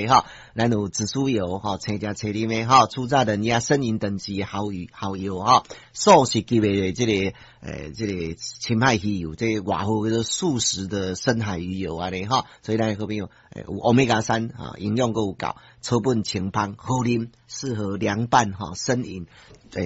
咧吼。咱有紫蘇油吼，青食青啉的吼，初榨冷壓生飲等級好魚好油吼，素食級的這個深海魚油，這個外號叫做素食的深海魚油按呢吼，所以咱好朋友有歐米伽三哈，營養閣有夠，草本清芳好啉，適合涼拌吼，生飲。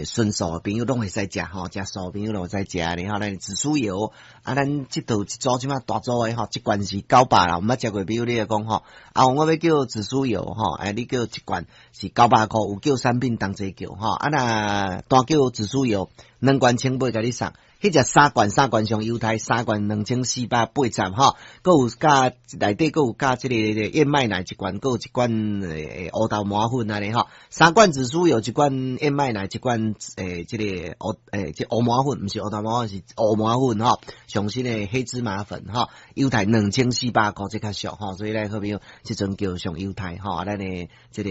純素的朋友攏會使食吼，食素的朋友攏會使食咧吼。咱紫蘇油啊，咱這道一組這馬大組的吼，一罐是九百啦，毋捌食過朋友你會講吼，啊，我欲叫紫蘇油吼，哎，你叫一罐是900箍，有叫產品同齊叫吼，啊，若單叫紫蘇油兩罐千八共你送。彼隻三罐三罐上優待，三罐2480吼，閣有加內底閣有加這個燕麥奶一罐，閣有一罐烏豆磨粉按呢吼。三罐紫蘇油，一罐燕麥奶，一罐這個烏這烏麻粉，毋是烏豆磨粉，是烏麻粉吼。上新的黑芝麻粉吼，優待2400箍，這較俗吼，所以咱好朋友這陣叫上優待吼，咱的這個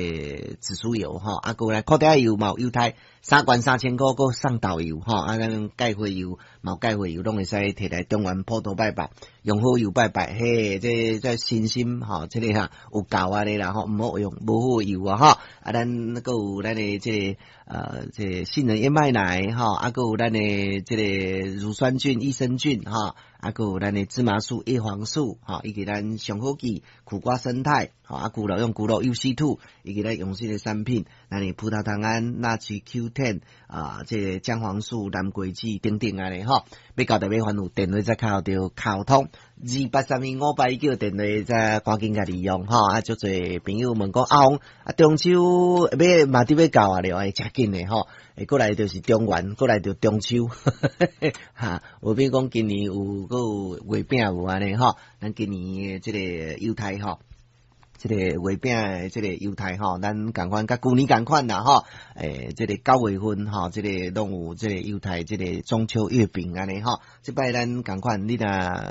紫蘇油吼，啊，閣來擴大油嘛有優待，三罐3000箍，閣送豆油吼，啊，咱鈣花油。嘛鈣花油攏會使提來中元普渡拜拜，用好油拜拜，嘿，這信心吼，這個哈有夠按呢啦吼，毋好用無好油啊吼，啊，咱閣有咱的這個杏仁燕麥奶吼，啊，閣有咱的這個乳酸菌、益生菌吼，啊，閣有咱的芝麻素、葉黃素吼，以及咱上好記苦瓜胜肽，吼，啊，牛肉用牛肉 UC2，以及咱用新的產品，咱的葡萄糖胺、納曲 Q10 啊，這個薑黃素、藍桂子等等按呢吼，欲交代欲煩惱，電話再敲著溝通28315819，電話再趕緊共利用吼，啊，足濟朋友問講阿紅啊，中秋欲嘛佇欲到啊了，會誠緊的吼，會過來就是中元，過來就中秋，哈，有比如講今年有閣有月餅無按呢吼，咱今年的這個優待吼。這個月餅的這個優待吼，咱仝款佮舊年仝款啦吼，這個9月份吼，這個攏有這個優待，這個中秋月餅按呢吼。這擺咱仝款，你若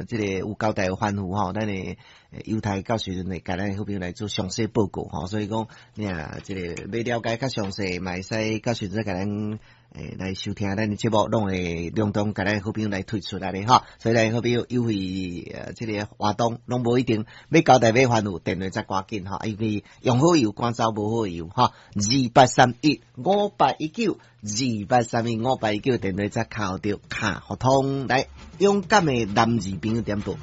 這個有交代有吩咐吼，咱的優待到時陣會共咱好朋友來做詳細報告吼。所以講，你若這個欲了解較詳細，嘛會使到時陣共咱來收聽咱的節目，攏會隆重共咱好朋友來推出來的吼。所以咱好朋友優惠這個活動攏無一定欲交代欲煩惱，電話再趕緊吼，因為用好油趕走無好油吼。28315819，28315819，電話再敲著卡互通來勇敢的男兒朋友點播。